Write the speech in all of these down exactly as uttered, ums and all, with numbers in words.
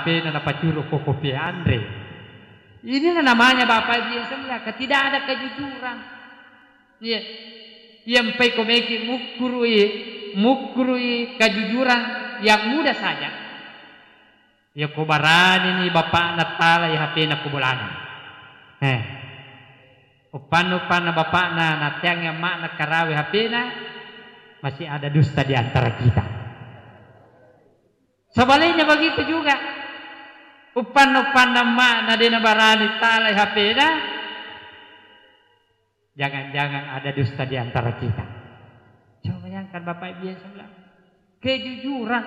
Pena napacuru ko kopi anre. Inilah namanya Bapak Ibu yang saya muliakan, tidak ada kejujuran. Iya. Yang pai komeki mukkurui, mukkurui kejujuran yang mudah saja. Ya ko barani ni bapakna talai H P-na ko bolana. Eh. Uppanna-uppanna bapakna nateangngi amma'na karawe H P-na, masih ada dusta di antara kita. Sebaliknya begitu juga. Uppanna-uppanna amma'na de nabarani talai H P-na, jangan-jangan ada dusta di antara kita. Coba bayangkan Bapak Ibu yang sebelah. Kejujuran.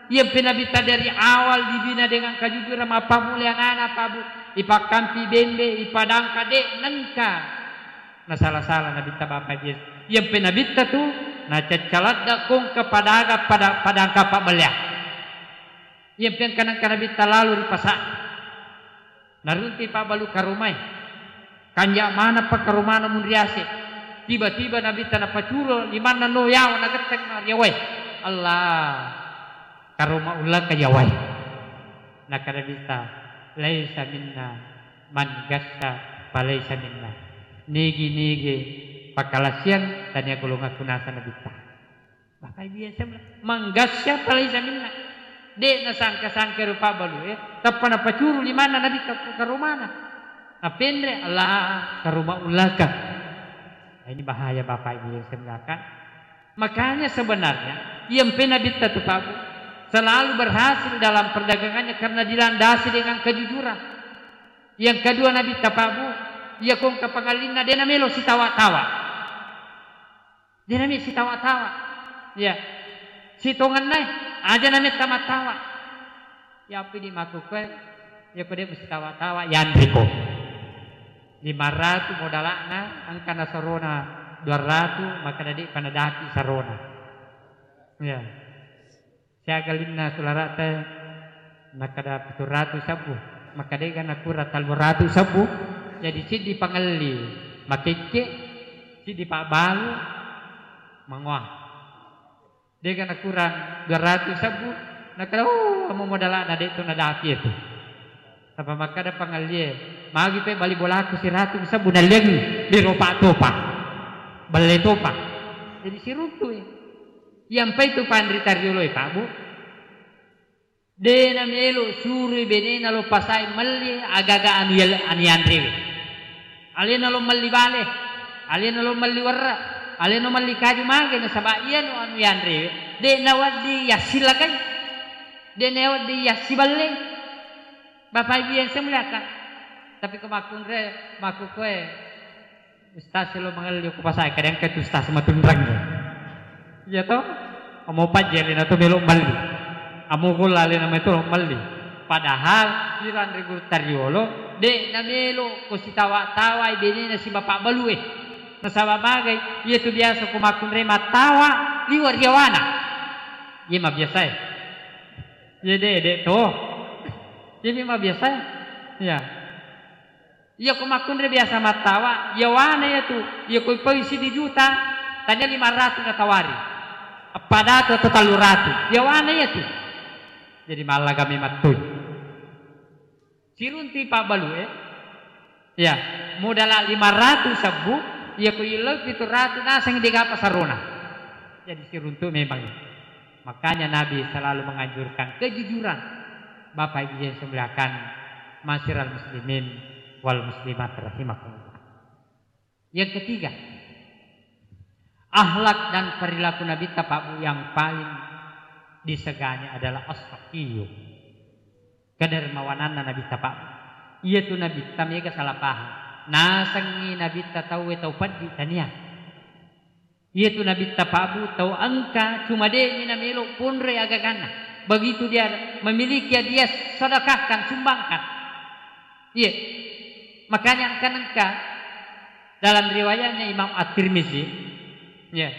Yang pernah Nabitta dari awal dibina dengan kejujuran, mappammula anana, Pak Bu. Ipakkampi bembe, ipadangka de nengka. Nah, salah-salah Nabitta Bapak Ibu. Yang pernah Nabitta tu, nah, caccaladda kong kepada aga pada, pada angka Pak Belia. Iya, engka-engka Nabitta lalu ri pasa. Naruntu pabbalu karomai. Kanja manappa karomana munriase. Tiba-tiba Nabitta napacuro limanna no yawa nagetteng riawai. Allah, karoma ullaka yawai. Nakkeda Nabitta, "Laisa minna man gassa falaisa minna." Nigi-nigi pakalasiang tania golonganku, naseng Nabitta. Bapak Ibu yang saya mulia, manggasya palaisa minna. De nasangka-sangka rupa balu, eh. Tappa napacuru limanna Nabitta ko karomana. Napenre, Allah, karoma ullaka. Nah, ini bahaya Bapak Ibu yang saya muliakan. Makanya sebenarnya, yang pe Nabitta tu Pak Bu, selalu berhasil dalam perdagangannya karena dilandasi dengan kejujuran. Yang kedua Nabitta Pak Bu, iya kongka pangallinna de namelo sitawa-tawa. De nami sitawa-tawa. Iya. Sitongenna e, aja nametta mattawa. Iya, apa di makkukue, iya ko de musitawa-tawa, yanriko. Lima ratu modala'na, engka nasarona dua ratu, maka dadi panadapi sarona. Iya. Siaga linna sulara'ta, nakkeda pitu ratu sabbu, maka dega nakurang tellu ratu sabbu, jadi siddi pangelli makekke, siddi pabbalu mangoa. Dega nakurang dua ratu sabbu, nakkeda, "Oh, amo modala'na de tu nadapi itu." Apa makkeda pangellie, "Magi pe bali bolaku siratu sabbu nalliangi, biro pa topa. Belle topa." Jadi siruntu e. Iyampai tu panrita riolo e, Pak Bu. De namelo surui benena lo pasai melli aga-aga anu yal-, anu yanrewe. Alena lo melli bale, alena lo melli werra, alena lo melli kaju mage nasaba iyanu anu yanrewe. De nawedding yassilakai. De nawedding yassiballei. Bapak Ibu yang saya muliakan. Tapi ko makkunre, makkukue, Ustaz lo mangelli ko pasai, kadang ke tu ustaz matunrang ya. Iya to? Amo pajji alena to melo melli. Amo golla alena mai to melli. Padahal piranre guru tariolo, de namelo ko sitawa-tawai benena si bapak balue. Nasaba magai, iya tu biasa ko makkunre mattawa liwa riawana. Iya mabiasae. Iya de, de to. Iya mabiasae. Iya. Iya ko makkunre biasa mattawa, iya wana iya tu, iya ko ipau siddi juta, tania lima ratu natawari. Eppa datu atau tellu ratu, iya wana iya tu. Jadi mallaga mi mattui. Sirunti pabbalu e. Iya, modala lima ratu sabbu, iya ko illau pitu ratu naseng degapa sarona. Jadi siruntu memang. Makanya Nabi selalu menganjurkan kejujuran. Bapak Ibu yang saya muliakan, masyiral muslimin wal muslimat rahimakumullah. Yang ketiga, akhlak dan perilaku Nabitta Pak Bu yang paling disegani adalah as-sakhiyyu. Kedermawananna Nabitta Pak Bu. Iya tu Nabitta mega salah paham. Nasengngi Nabitta tauwe tau peddi tania. Iya tu Nabitta Pak Bu, tau engka cuma de'mi namelo ponroi agaganna. Begitu dia memiliki, dia sedekahkan, sumbangkan. Iya. Makanya engka nengka dalam riwayatnya Imam At-Tirmizi, iya,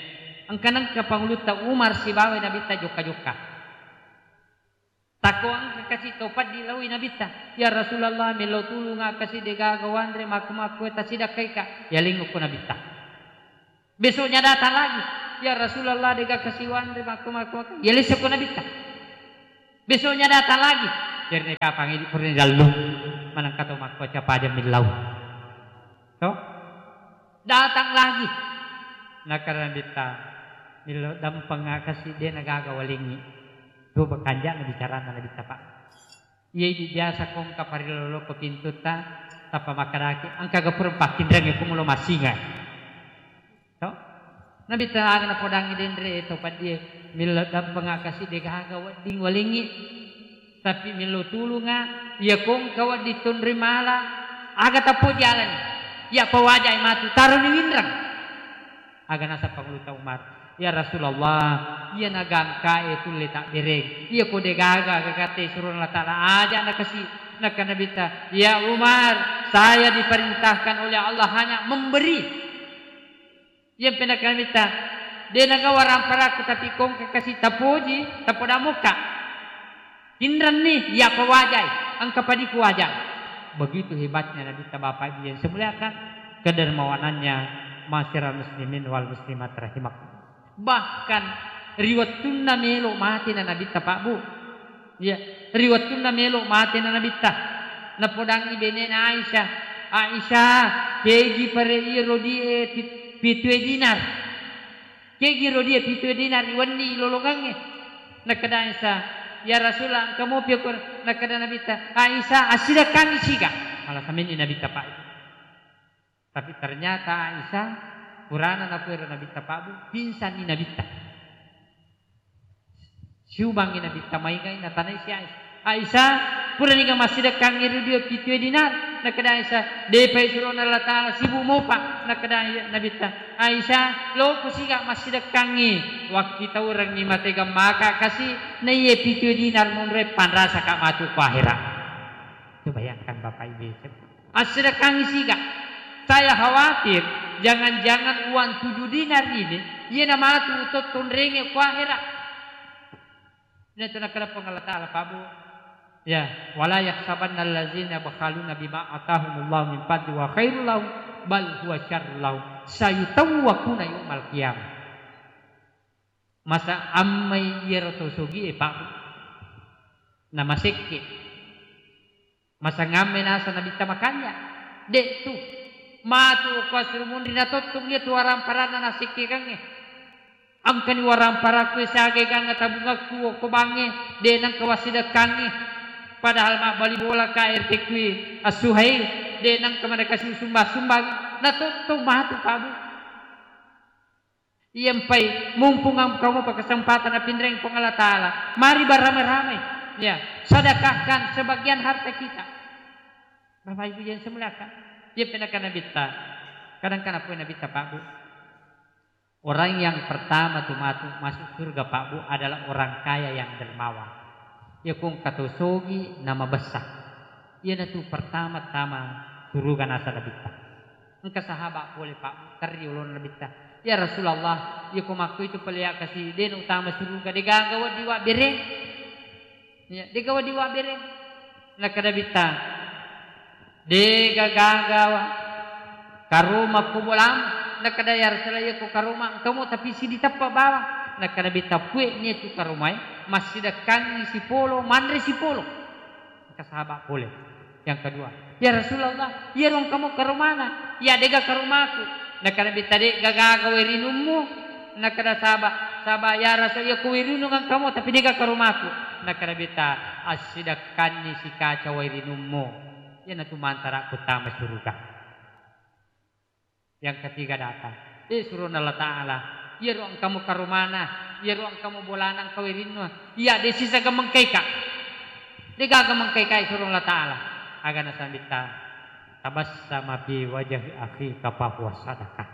engka nengka pangulutta Umar sibawa Nabitta jokka-jokka. Takko engka kasi tau peddi laoi Nabitta, "Ya Rasulullah, melo tulunga kasi degaga wanre makku-makku e tasidakkaika." Yalingukko Nabitta. Besoknya datang lagi, "Ya Rasulullah, dega kasi wanre makku-makku." Yalisseko Nabitta. Besoknya datang lagi, Jari kapang idi purani lallu, manengka to makkuaca paja millau. To? Datang lagi. Nakkeda Nabitta, "Millau dampengnga kasi, de' nagaga walengngi." Dua bekanja'na bicaranna Nabitta, Pak. Iya idi biasa ko engka pariloloko pintutta, tappa makkedaki, "Engka gapura pakkinrengnge ko mulo massinga." To? Nabitta aga napodangngi denre to paddie, "Millau dampengnga kasi, de' gaga wedding walengngi." Tapi millau tulungnga, iya ko engka wedding tonroi mala, aga tappoji alani. Iya pawajai matu, taroni winreng. Aga naseng Pangulutta Umar, "Ya Rasulullah, iya nagangkae tulle tabbereng. Iya ko de' gaga gagatte surona Allah Ta'ala, aja nakasi." Nakkeda Nabitta, "Ya Umar, saya diperintahkan oleh Allah hanya memberi." Iyampe nakkeda Nabitta, "De' nagaga waramparakku, tapi ko engka kasi tapoji, tapodamokka. Inrenni, iya pawajai, engka padiku waja." Begitu hebatnya Nabitta, Bapak Ibu yang saya muliakan, kedermawanannya, masyarakat muslimin wal muslimat rahimakum. Bahkan ri wettunna melo matena Nabitta, Pak Bu. Iya, ri wettunna melo matena Nabitta, napodangngi benena Aisyah, "Aisyah, kegi pare iya rodie pit-, pitue dinar. Kegi rodie pitue dinar ri wenni lolongangnge." Nakkeda Aisyah, "Ya Rasulullah, engka mopi ko." Nakkeda Nabitta, "Aisyah, assidekkangngi siga." Mala samenni Nabitta, Pak. Tapi ternyata Aisyah, purana napuero Nabitta, Pak Bu, pingsanni Nabitta. Siubangngi Nabitta, maingai, natanai si Aisyah, "Aisyah, puraniga massidekkangngi ri dio pitue dinar?" Nakkeda Aisyah, "Depai surona Allah Ta'ala, sibuk mopa." Nakkeda Nabitta, "Aisyah, loko siga massidekkangngi, wakkitaurengngi mate gammaka kasi, naiye pitue dinar monroe, panrasaka matu ko ahera." Coba bayangkan Bapak Ibu. Assidekkangngi siga. Saya khawatir, jangan-jangan uang tujuh dinar ini, iyena matu utottonrengnge ko ahera. Iyatu nakkeda Puang Allah Ta'ala, Pak Bu. Ya, "Wala yahsabanna allazina yabkhaluna bima atahumullahu min fadli wa khairul lahum, bal huwa syarrul lahum, sayutawwaquna yaumal qiyamah." Masa ammai iyaro to sogie, Pak Bu? Namasekke. Masangamme nasa Nabitta makanja? De'tu. Matu ko asuru munri natottong iyatu waramparanna nasekkekangnge. Engkani waramparakku siaga eganna tabungakku okko bangnge, de' nengka wassidekkangngi. Padahal mabbali bolaka R T Q As-Suhail, de' nengka manakasi sumbang-sumbang. Natottong matu, Pak Bu. Iyampai mumpung engka mopa kesempatan napinreng Puang Allah Ta'ala, mari barame-rame, ya, sedekahkan sebagian harta kita. Bapak Ibu yang saya muliakan, iya penaka Nabitta, kadang-kadang pun Nabitta, Pak Bu. Orang yang pertama tu matu-, masuk surga, Pak Bu, adalah orang kaya yang dermawan. Iya kong katosogi nama besar. Iyanatu pertama-tama suruga nasa Nabitta. Engka sahaba pole, Pak, terri olona Nabitta, "Ya Rasulullah, iya ko makko itu pale ya kasi, de' na utama suruga, de' gaga wedding wabbereng." Ya, de' gaga wedding wabbereng. Nakkeda Nabitta, "De' gaga wa-, karoma ko bolam." Nakkeda, "Ya Rasulullah, iya ko karoma engkamo tapi sidi teppa bawang." Nakkeda Nabitta, "Pue nia tu karomae, massidekkangngi sipolo, manre sipolo." Engka sahaba pole. Yang kedua, "Ya Rasulullah, iyaro engkamo karomana, iya de' gaga karomaku." Nakkeda Nabitta, "De' gaga wae rinummu." Nakkeda sahaba, sahaba, "Ya Rasul, iya ko wae rinung engkamo, tapi de' gaga karomaku." Nakkeda Nabitta, "Assidekkanni sikaca wae rinummu. Iyanatu mantara ku tama suruga." Yang ketiga datang. Eh, surona Allah Ta'ala. Iyaro engkamo karomana, iyaro engkamo bolana engka wae rinnu. Iya, de' sisa gamengkaika. De' gaga mengkaika, surona Allah Ta'ala. Aga nasa Nabitta, "Tabassama fi wajhi akhika fahuwa sadaqah."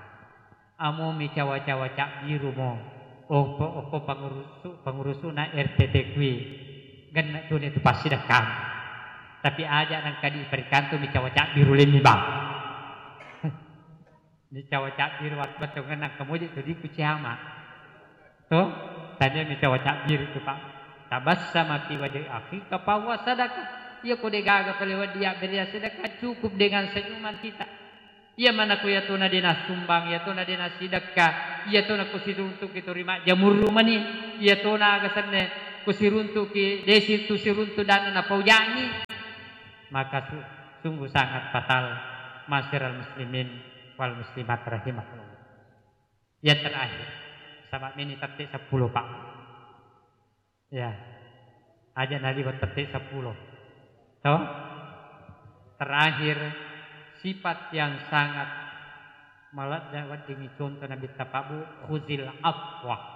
Amo micawa-cawa cabbirumo. Okko, okko pangurusu-, pangurusuna R T T kui. Genne' tuni tu passidekkang. Tapi aja nangka di perikantu micawa cabbiru lemmi bang. Nicawa cabbiru wat-, battongenna engka moje tu diku ciama. To? Tania nicawa cabbiru tu, Pak. Tabassama fi wajhi akhika fahuwa sadaqah. Iya ko de' gaga pale wedding yabbere sedekah, cukup dengan senyuman kita. Iya manako iyatona de' nasumbang, iyatona de' nasidekka, iyatona ko siruntuk itu ri majjamurru mani, iyatona aga senne kusiruntuki, desi tu siruntu dan napaujangi, maka su-, sungguh sangat fatal, ma'asyiral muslimin wal muslimat rahimakumullah. Yang terakhir, sama ini tette sepuluh, Pak. Ya, aja naliwat tette sepuluh. Toh? Terakhir, sifat yang sangat maladda weddingngi contoh Nabitta Pak Bu, khuzil afwa.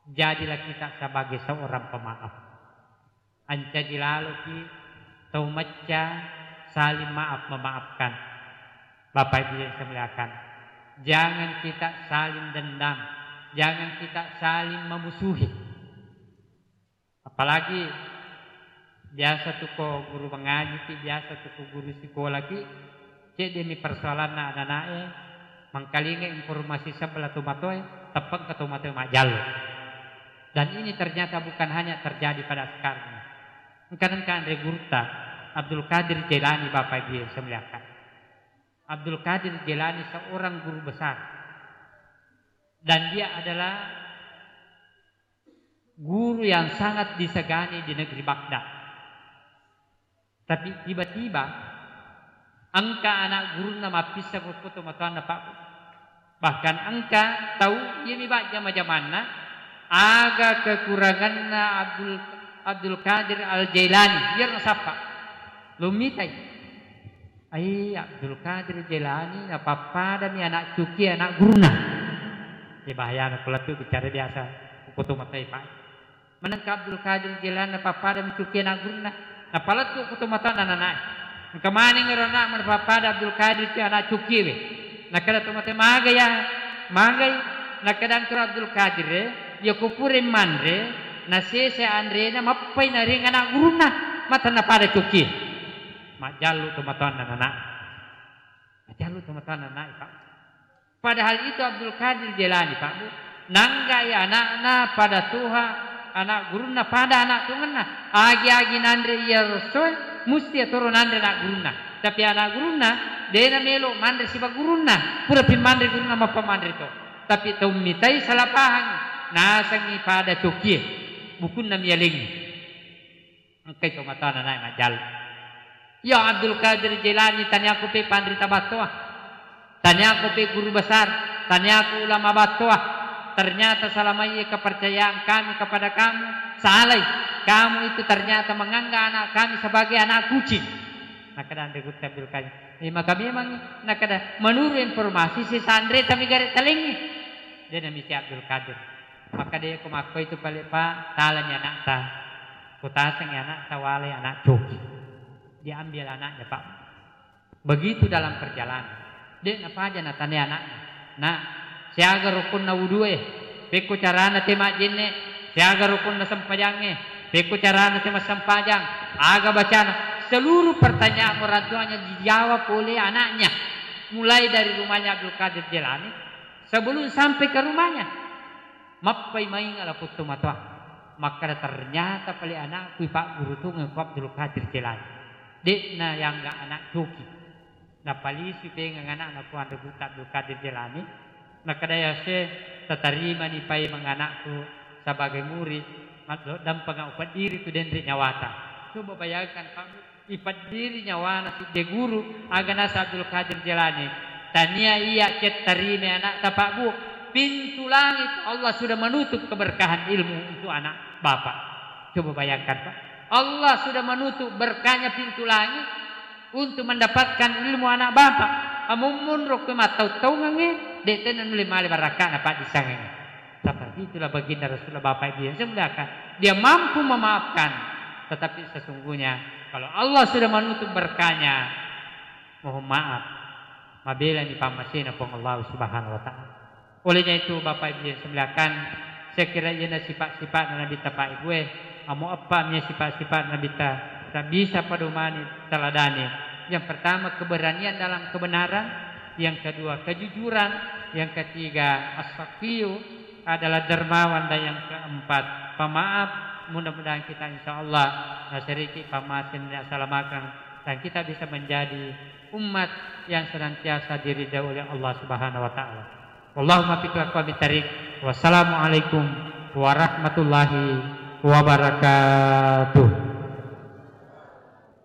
Jadilah kita sebagai seorang pemaaf. Ancaji laloki tau macca saling maaf memaafkan. Bapak Ibu yang saya muliakan, jangan kita saling dendam, jangan kita saling memusuhi. Apalagi biasa tu ko guru mengaji ki, biasa tu ko guru sikola ki, cedde mi persoalanna anak-anak e, mangkalinga informasi sebelah tomatoa e, teppeng ke tomatoa e majjallo. Dan ini ternyata bukan hanya terjadi pada sekarang. Engka-engka anre gurutta Abdul Qadir Jailani, Bapak Ibu yang saya muliakan. Abdul Qadir Jailani seorang guru besar. Dan dia adalah guru yang sangat disegani di negeri Baghdad. Tapi tiba-tiba engka anak gurunna mappisseng okko tomatoanna, Pak. Bahkan engka tau iya mi bajjama-jamanna, aga kekuranganna Abdul, Abdul Qadir Al Jailani, biar nasappa. Lo mitai. Ai, Abdul Qadir Jailani napappadami anak cuki anak gurunna. Iya bahayana ko lettu bicara biasa, ko tomatoa e, Pak. Manengka Abdul Qadir Jailani napappadami cuki anak gurunna. Napalettu ko tomatoanna anak-anak e. Engka maneng ero anak napappada Abdul Qadir cu-, anak cuki we. Nakkeda tomatoa e, "Maga ya, magai?" Nakkeda engkaro Abdul Qadir e, "Iya ko pura manre, nasese anrena, mappai nareng anak gurunna, mata napada cuki." Majjallu tomatoanna anak. Majjallu tomatoanna anak, Pak. Padahal itu Abdul Qadir Jailani, Pak Bu, nanggai anakna pada toha, anak gurunna pada anak tongenna. Agi-agi nanre iya rosoe, musti atoro nanre anak gurunna. Tapi anak gurunna, dena melo manre siba gurunna. Pura pi manre gurunna, mappa manre to. Tapi tau mitai salah pahang, nasengi pada cokie, bukunna mialengi. Engkai tomatoanna nae majjallu. Ya Abdul Qadir Jailani, taniako pe panrita battoa, taniako pe guru besar, taniako ulama battoa. Ternyata selama ini kepercayaan kami kepada kamu salai. Kamu itu ternyata menganggap anak kami sebagai anak kucing. Nakkeda anre gurutta Abdul Qadir, eh, maka memang, nakkeda, menurut informasi si sanre tami gare talengi. Dia namisi Abdul Qadir. Makkeda ko makkoi tu pale, Pak, talani anakta. Kutasengi anakta walai anak coki. Diambil anaknya, Pak. Begitu dalam perjalanan. Dek napaja natane anaknya. Nak, siaga rukunna wudue? Pekko carana te majjenne? Siaga rukunna sempajangnge? Pekko carana te massempajang? Aga bacana? Seluruh pertanyaan orang tuanya dijawab oleh anaknya. Mulai dari rumahnya Abdul Qadir Jailani, sebelum sampai ke rumahnya, mappai mainga lapong tomatoa. Makkeda, ternyata pale anakku ipagguru tongeng ko Abdul Qadir Jailani. De'na yangga anak coki. Napalisu pengeng anakna ko anre gurutta Abdul Qadir Jailani. Nakkeda, ya Syekh, tatarimani paimeng anakku sebagai murid, maddoddampenga upeddiri tu denre nyawata. Coba bayangkan, Pak. Ipeddiri nyawana sidde guru, aga naseng Abdul Qadir Jailani, tania iya cettarime anakta, Pak Bu. Pintu langit Allah sudah menutup keberkahan ilmu untuk anak bapak. Coba bayangkan, Pak. Allah sudah menutup berkahnya pintu langit untuk mendapatkan ilmu anak bapak. Amummun rokko mattau-taungangnge, de' tenna nulle male barakana, Pak, disangengnge. Seperti itulah baginda Rasulullah, Bapak Ibu yang saya muliakan. Dia mampu memaafkan, tetapi sesungguhnya kalau Allah sudah menutup berkahnya, mohon maaf, mabelani pammasena Puang Allah Subhanahu wa Ta'ala. Olehnya itu, Bapak Ibu yang saya muliakan, saya kira iyana sifat-sifat Nabitta, Pak Ibu, eh, amo eppa mi sifat-sifat Nabitta, tak bisa padomani, teladani. Yang pertama, keberanian dalam kebenaran. Yang kedua, kejujuran. Yang ketiga, as-sakhiyu adalah dermawan, dan yang keempat, pemaaf. Mudah-mudahan kita, insya Allah, naseriki pammasena, salamakan, dan kita bisa menjadi umat yang senantiasa diridai oleh Allah Subhanahu wa Ta'ala. Wallahul muwaffiq ila aqwamit thariq. Wassalamualaikum warahmatullahi wabarakatuh.